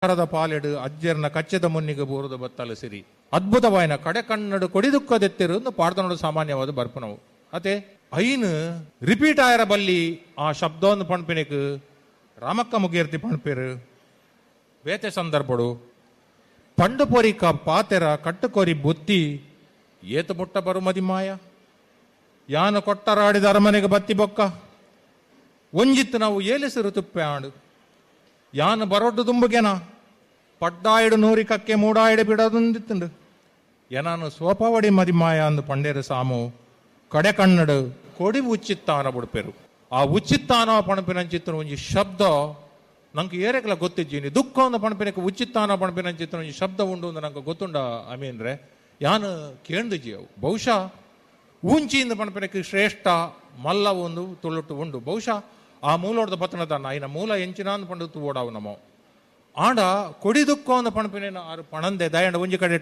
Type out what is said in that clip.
ಅರದ ಪಾಲೆಡು ಅಜ್ಜೆರ್ನ ಕಚ್ಚೆದ ಮುನ್ನಿಗೆ ಬೂರದ ಬತ್ತಲ ಸಿರಿ ಅದ್ಭುತವಾಯಿನ ಕಡೆ ಕಣ್ಣಡು ಕೊಡಿ ದುಃಖದೆತ್ತಿರು ಪಾಡ್ದನೋಡು ಸಾಮಾನ್ಯವಾದ ಬರ್ಪುನವು. ಅತೆ ಐನ್ ರಿಪೀಟ್ ಆಯರ ಬಲ್ಲಿ ಆ ಶಬ್ದವನ್ನು ಪಣ್ಪಿನೆಕ್ ರಾಮಕ್ಕ ಮುಗೇರ್ತಿ ಪಣ್ಪೇರು. ಬೇತೆ ಸಂದರ್ಭಡು ಪಂಡು ಪೊರಿಕ ಪಾತೆರ ಕಟ್ಟುಕೊರಿ ಬುತ್ತಿ ಏತ ಮುಟ್ಟ ಬರುಮದಿ ಮಾಯ ಯಾನ ಕೊಟ್ಟರಾಡಿದ ಅರಮನೆಗೆ ಬತ್ತಿ ಬೊಕ್ಕ ಒಂಜಿತ್ತು ನಾವು ಏಲೆಸರು ತುಪ್ಪೆ ಆಂಡು ಯಾನ ಬರೊಡ್ಡು ದುಂಬುಗೆನ ಪಡ್ಡಾಯಿಡು ನೂರಿ ಕಕ್ಕೆ ಮೂಡಾಯಿಡು ಬಿಡೋದೊಂದಿತ್ತುಂಡು ಏನಾನು ಸೋಪವಡಿ ಮದಿಮಾಯ ಅಂದು ಪಂಡೇರು ಸಾಮು ಕಡೆ ಕಣ್ಣಡು ಕೊಡಿ ಉಚ್ಚಿತ್ತಾನ ಬುಡ್ಪೆರು. ಆ ಉಚ್ಚಿತ್ತಾನ ಪಣಪಿನಂಚಿತ್ತನ ಒಂಜಿ ಶಬ್ದ ನಂಗೆ ಏರೆಗ್ಲ ಗೊತ್ತಿಜ್ಜಿನಿ. ದುಃಖ ಒಂದು ಪಣಪಿನಕ್ಕೆ ಉಚ್ಚಿತ್ತಾನ ಪಣಪಿನಂಚಿತ್ತನ ಒಂಜಿ ಶಬ್ದ ಉಂಡು ಅಂದು ನಂಗೆ ಗೊತ್ತುಂಡ ಅಮೀನ್ರೆ ಯಾನು ಕೇಂದಿಜಿ ಅವು. ಬಹುಶಃ ಊಂಚಿಂದ ಪಣಪಿನಕ್ಕೆ ಶ್ರೇಷ್ಠ ಮಲ್ಲ ಒಂದು ತುಳುಟು ಉಂಡು. ಬಹುಶಃ ಆ ಮೂಲೋಡ್ದ ಪತನದಾನ ಐನ ಮೂಲ ಎಂಚಿನಾನ್ ಪಂಡು ತೂವೋಡಾವು ನಮೋ ಆಂಡ ಕೊಡಿ ದುಃಖ ಒಂದು ಪಣಪಿನ ಆರು ಪಣಂದೆ ದಯಂಡ ಒಂಜಿ ಕಡೆ.